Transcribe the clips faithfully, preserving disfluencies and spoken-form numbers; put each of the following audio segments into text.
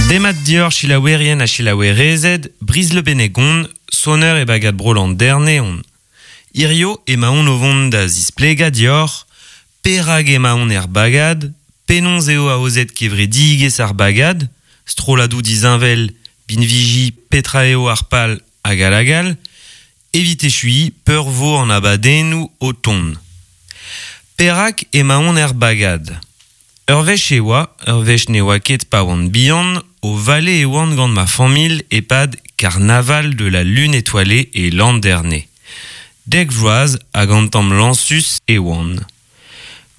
Demat dior chilaouerien ha chilaouerezed, briz le benegon, sonner e bagad bro landerne on. Irio emaon o vont da zisplega dior, perag emaon er bagad, penons eo aozet kevredigez ar bagad, stroladou dizinvel, binviji, petra eo ar pal hag alagal, evit echui peurvo an abadennou o ton. Perak emaon er bagad. Ur wech e oa, ur wech ne oa ket pa oan bihan, o vale e oan gant ma familh e-pad Carnaval de la Lune étoilée e Landerne. Dek vloaz hag an tamm lansus e oan.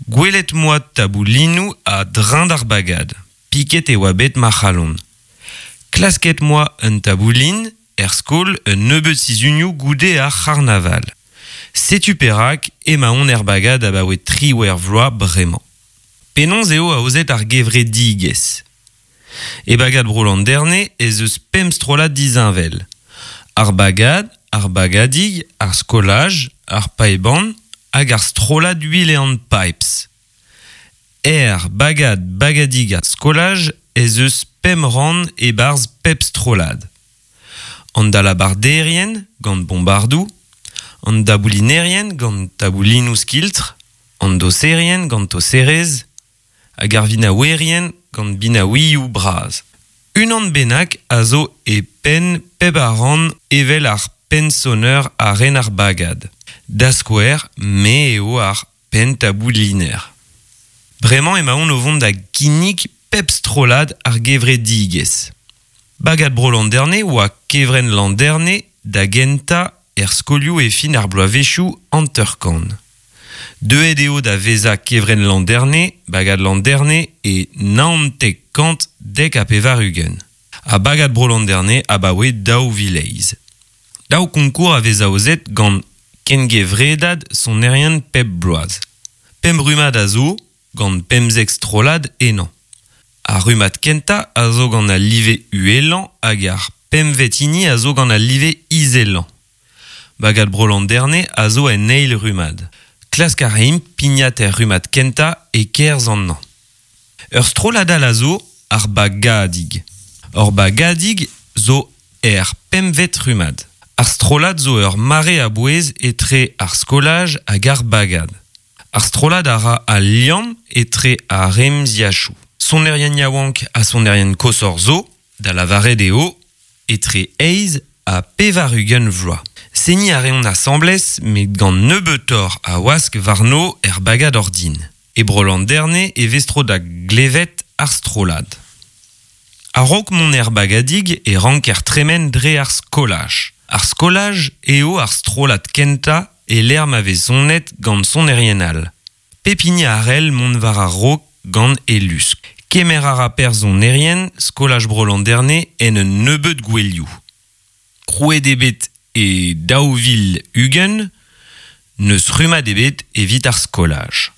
Gwelet moa taboulinou a drein d'ar bagad. Piket e oa bet ma c'halon. Klasket moa un taboulin, er skol un nebeud sizhunioù goude ar c'harnaval. Setu perak emaon er bagad abaoe triwec'h vloaz bremañ. Penaos eo aozet ar gevredigezh. E bagad bro Landerne ez eus pemp strollad disheñvel. Ar bagad, ar bagadig, ar skolaj, ar paeban hag ar strollad Uilleann Pipes. Er bagad, bagadig ha skolaj ez eus pemp rann e-barzh pep strollad. An dalabarderien gant bombardou, an daboulinerien gant taboulinoù skiltr, an doserien gant toserez, hag ar vinaouerien gant binaouioù bras. Unan bennak a zo e penn pep a ran evel ar penn-sonner a ren ar bagad. Da skouer, me eo ar penn tabouliner. Bremañ emaon o vont da ginnig pep strollad ar gevredigezh. Bagad bro Landerne oa kevrenn Landerne da gentañ er skolioù e fin ar bloavezhioù hanter-kant. Deuet eo da vezañ kevrenn Landerne, bagad Landerne e naontek kant dek ha pevar-ugent. Ha bagad bro Landerne abaoe daou vil eizh. Daou konkour a vez aozet gant kengevredad sonerien pep bloaz. Pemp rummad a zo gant pemzek strollad ennañ. Ar rummad kentañ a zo gant al live uhelañ hag ar pempvet hini a zo gant al live izelañ. Bagad bro Landerne a zo en eil rummad. Klask a raimp pignat er rummad kentañ e-kerzh an hañv. Ur strollad all a zo ar bagadig. Ur bagadig zo er pempvet rummad. Ar strollad zo ur mare a-bouez etre ar skolaj hag ar bagad. Ar strollad a ra al liamm etre ar remziachoù. Sonerien yaouank ha sonerien koshoc'h zo, da lavaret eo, etre eizh ha pevar-ugent vloaz. Seniñ a reont asambles met gant nebeutoc'h a wask warno er bagad ordin. E bro Landerne e vez tro da glevet ar strollad. A-raok mont er bagadig e ranker tremen dre ar skolaj. Ar skolaj eo ar strollad kentañ e lec'h ma vez sonet gant sonerien all. Pep hini a c'hell mont war a-raok gant e lusk. Kemer a ra perzh sonerien skolaj bro Landerne en un nebeud gouelioù. Krouet eo bet e daou vil ugent, n'eus rummad ebet evit ar skolaj.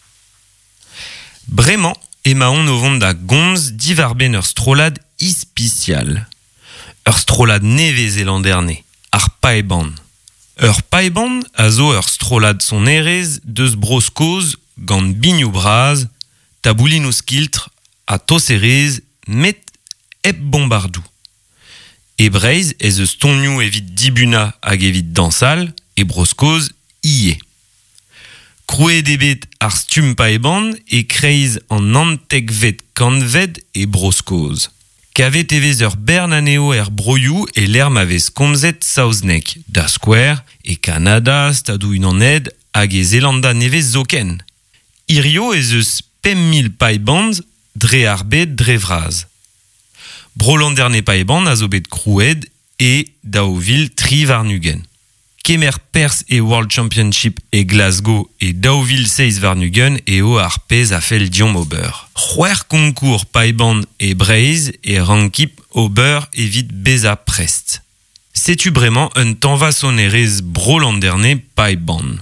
Bremañ emaon o vont da gomz diwar-benn ur strollad ispisial. Ur strollad nevez e Landerne, ar Paeban. Ur paeban a zo ur strollad sonerezh deus Bro-Skos gant binioù bras, taboulinoù skiltr ha toserezh met hep bombardou. E Breizh ez eus tonioù evit dibunañ hag evit dañsal, e Bro-Skos ivez. Krouet eo bet ar stumm paeban e-kreiz an naontekvet kantved e Bro-Skos. Kavet e vez ur bern anezho er broioù e lec'h ma vez komzet saozneg, da skouer, e Kanada, Stadoù-Unanet hag e Zeelanda Nevez zoken. Hirio ez eus pemp mil paebans dre ar bed dre vras. Bro Landerne Paeban a zo bet krouet e daou vil tri warn-ugent. Kemer perzh e World Championship e Glasgow e daou vil seizh warn-ugent eo ar pezh a fell deomp ober. C'hwec'h konkour paeban e Breizh e rankimp ober evit bezañ prest. Setu bremañ un tañva sonerezh Bro Landerne Paeban.